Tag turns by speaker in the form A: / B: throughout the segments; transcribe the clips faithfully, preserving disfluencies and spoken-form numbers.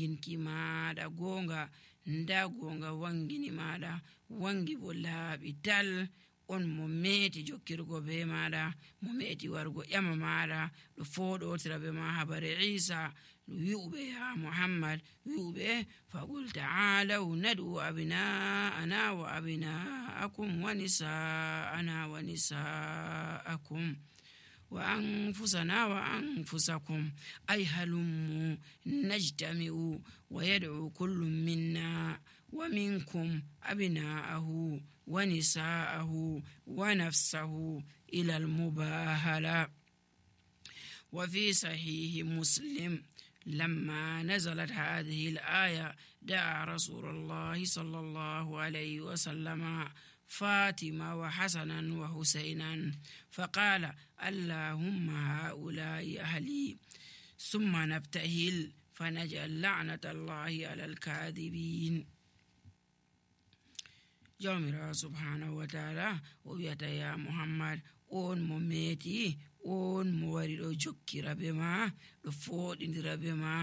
A: ginki maɗa gonga nda gonga wangini maɗa wangi bo laaɓi tal. On mo meti jokkirgo be maɗa, mo meti wargo ƴama maɗa ɗo foɗotira be ma habare Isa wi'uɓe ya Muhammad wi'uɓe faqul ta'alaw nad'u abna'ana wa abna'akum wa nisa'ana wa nisa'akum wa anfusana wa anfusakum ay halummu najtami'u wa yad'u kullu minna wa minkum abna'ahu wa nisa'ahu wa nafsahu ila al-mubahala. wa fi sahih Muslim لما نزلت هذه الآية دعا رسول الله صلى الله عليه وسلم فاطمة وحسنا وحسينا فقال اللهم هؤلاء أهلي ثم نبتهل فنجعل لعنة الله على الكاذبين. جامرا سبحانه وتعالى ويتا يا محمد on mo meti on mo wari ɗo jokkira be ma ɗo foɗindira be ma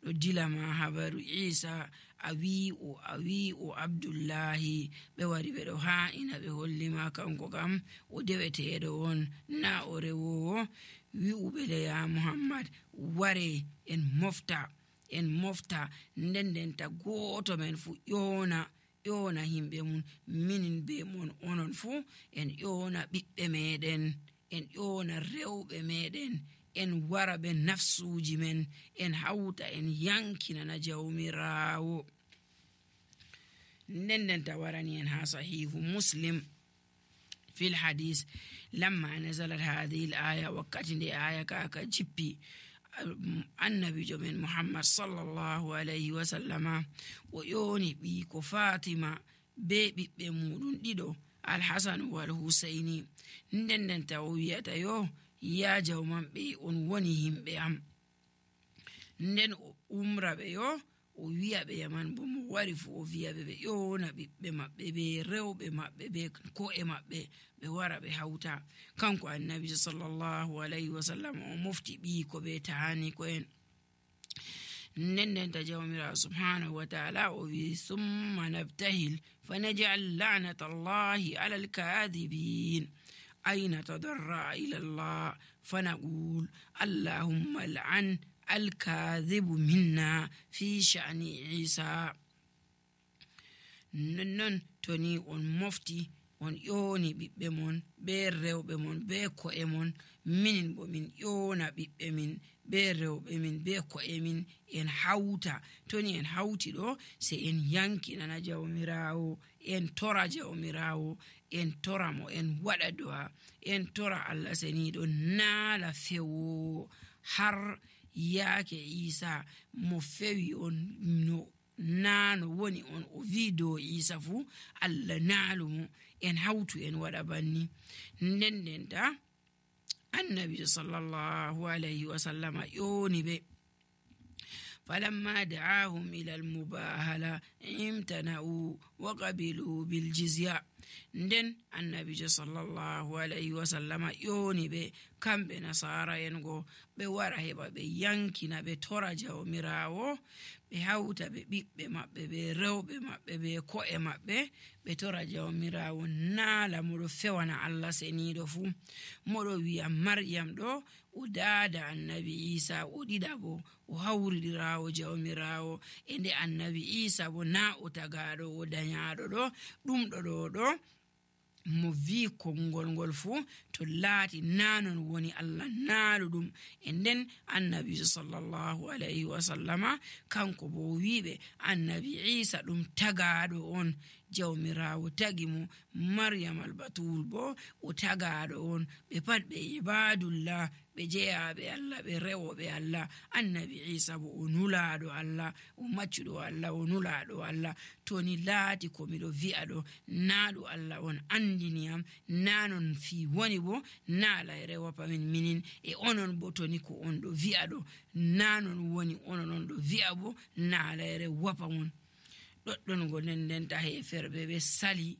A: ɗo dila ma habaru Isa a wi o a wi o Abdullahi ɓe wari ɓe ɗo ha'ina ɓe hollima kanko kam o deweteɗo on na o rewowo. wi'uɓe de ya Muhammad ware en mofta en mofta nden ndenta goto men fu ƴona ƴona himɓe mum minin be mon onon fu en ƴona ɓiɓɓe meɗen en ƴona rewɓe meɗen en wara ɓe nafsuji men en hawta en yankinana jawmirawo. nden ndenta warani en ha sahihu Muslim في الحديث لما نزلت هذه الآية وقت دي آية كاكا جبي النبي جمين محمد صلى الله عليه وسلم ويوني بيكو فاطمة بيبي بمودون ديدو الحسن والحسيني ندن تاوية يو يا جومان بي ونونيهم بيام ندن أمرا بيو o wi'a ɓe yaman bo mo wari fu o wi'a ɓe ɓe ƴona ɓiɓɓe maɓɓe ɓe rewɓe maɓɓe ɓe ko'e maɓɓe ɓe wara ɓe hawta. kanko annabi sallallahu alayhi wa sallam o mofti ɓii ko ɓe tahani ko en. nden ndenta jawmirawo subhanahu wa ta'ala o wi summa nabtahil fanaj'al la'nata allahi ala alkadibin ayna tadarra ila allah fanaqul allahumma al'an الكاذب منا في شأن عيسى. نن توني on mofti on ƴoni ɓiɓɓe mon be rewɓe mon be ko'e mon minin bo min ƴona ɓiɓɓe min be rewɓe min be ko'e min en hawta. toni en hawti ɗo se en yankinana jawmirawo en tora jawmirawo en tora mo en waɗa du'a en tora Allah seniɗo naala fewo har yaake Isa mo fewi on no nano woni on o wi dow Isa fu Allah naalumo en hawtu en waɗa banni. nden ndenta annabi sallallahu alayhi wa sallam ƴoni ɓe فلما دعاهم إلى المباهلة امتنعوا وقبلوا بالجزية. nden annabi sallallahu alayhi wa sallam ƴoni ɓe kamɓe nasara en go ɓe wara heɓa ɓe yankina ɓe tora jawmirawo ɓe hawta ɓe ɓiɓɓe maɓɓe ɓe rewɓe maɓɓe ɓe ko'e maɓɓe ɓe tora jawmirawo naala moɗo fewana Allah seniɗo fu moɗo wi'a Maryam ɗo o daada annabi Isa o ɗiɗa bo o hawridirawo jawmirawo e nde annabi Isa bo na o tagaɗo o dañaɗo ɗo ɗum ɗo ɗo ɗo mo vi konngol ngol fu to laati nanon woni Allah naalu ɗum. e nden annabi sallallahu alayhi wa sallama kanko bo wiɓe annabi Isa ɗum tagaɗo on jawmirawo tagi mo Maryam al-Batul bo o tagaɗo on ɓe pat ɓe ibadullah ɓe jeyaɓe Allah ɓe rewoɓe Allah. annabi Isa bo o nulaɗo Allah o maccuɗo Allah o nulaɗo Allah. toni laati ko miɗo wi'a ɗo naaɗo Allah on andiniyam nanon fi woni bo naala e rewopa min minin e onon bo toni ko on ɗo wi'a ɗo nanon woni onon on ɗo wi'a bo naala e rewopa mon ɗoɗɗon go nden ndenta heferɓe ɓe sali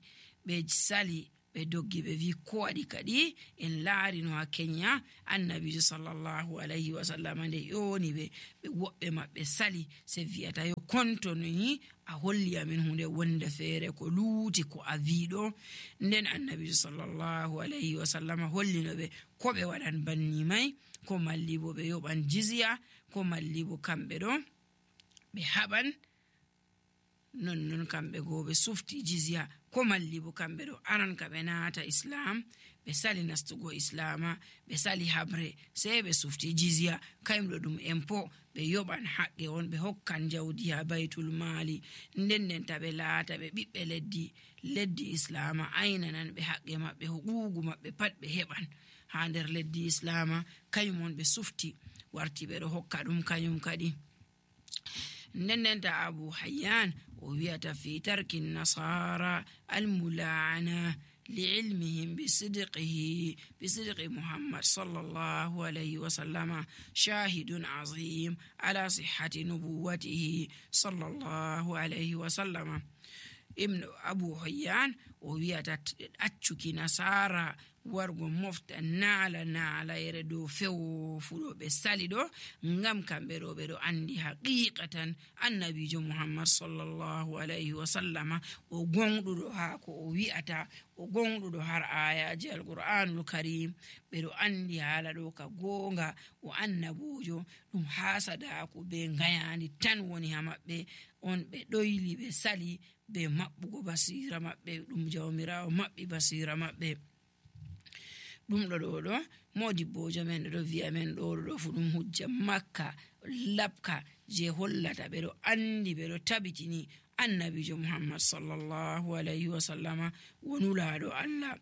A: ɓe sali ɓe doggi ɓe wi ko waɗi kadi en laari no ha Kenya annabijo sallallahu alayhi wa sallam nde ƴoni ɓe ɓe woɓɓe maɓɓe sali se wi'ata yo kontoni a holli amin hunde wonde feere ko luuti ko a wiɗo. Nden annabijo sallallahu alayhi wa sallam hollino ɓe ko ɓe waɗan banni mai, ko malli bo ɓe yoɓan jizya, ko malli bo kamɓe ɗo ɓe haɓan non non kamɓe go ɓe sufti jizya, ko malli bo kamɓe ɗo aran ka ɓe naata islam, ɓe sali nastugo islama, ɓe sali habre sei ɓe sufti jizya kayumɗo ɗum empo ɓe yoɓan haqqe on, ɓe hokkan jawdi ha baytul mali. nden nden ta ɓe laata ɓe ɓiɓɓe leddi leddi islama aynanan ɓe haqqe maɓɓe, huquuqu maɓɓe pat ɓe heɓan ha nder leddi islama, kayum on ɓe sufti warti ɓe ɗo hokka ɗum kayum kadi. nden nden ta Abu Hayyan o wi'ata fi tarki nasara almula'ana li'ilmihim bisidqihi bisidqi Muhammad sallallahu alayhi wa sallama shahidun azim ala sihhati nubuwatihi sallallahu alayhi wa sallama. Ibn Abu Hayyan o wi'ata accuki nasara wargo mofta naala naalayre dow fewo fuɗo ɓe sali ɗo ngam kamɓe ɗo ɓe ɗo andi haqiqatan annabijo Muhammad sallallahu alayhi wa sallama o gonɗuɗo ha ko o wi'ata, o gonɗuɗo har ayaji alqur'anul karim. ɓe ɗo andi haala ɗo ka gonga o annabojo ɗum hasadaku be ngayandi tan woni ha maɓɓe on, ɓe ɗoyli ɓe sali be maɓɓugo basira maɓɓe, ɗum jawmirawo maɓɓi basira maɓɓe. ɗum ɗo ɗo ɗo modibbojo men ɗo wi'a men ɗo ɗo fu ɗum hujja makka labka je hollata ɓe ɗo andi ɓe ɗo tabitini annabijo Muhammad sallallahu alayhi wa sallama wonulaɗo Allah.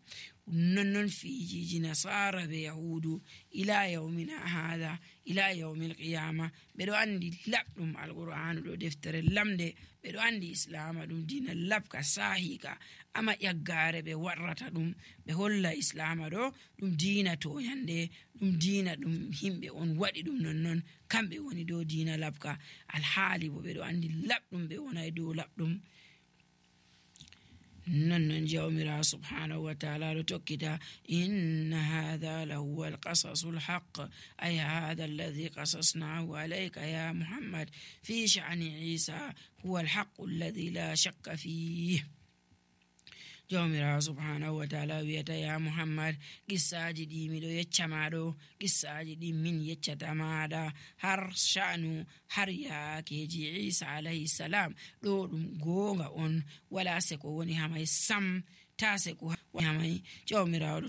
A: nonnon fijiji nasara be yahudu ila yawmina hada ila yawmil qiyama ɓe ɗo andi labɗum alqur'anu ɗo deftere lamde, ɓe ɗo andi islama ɗum dina labka sahika, ama ƴaggare ɓe warrata ɗum ɓe holla islama ɗo ɗum dina toyande, ɗum dina ɗum himɓe on waɗi ɗum nonnon kamɓe woni dow dina labka, alhaali bo ɓe ɗo andi labɗum ɓe wonay dow labɗum. nonnon jawmira subhanahu wa ta'ala ɗo tokkita inna hadha lahuwa alqasasu alhaq ay hadha alladhi qasasnahu alayka ya Muhammad fi sha'ni Isa huwa alhaq alladhi la shakka fihi. jawmira subhanahu wa ta'ala wiyata ya Muhammad qissaji ɗi miɗo yecca maɗo, qissaji ɗi min yeccata maɗa har sha'nu har yakeji Isa alayhi salam ɗo ɗum gonga on, wala seko woni hamay sam, ta seko woni hamay. jawmirawo ɗo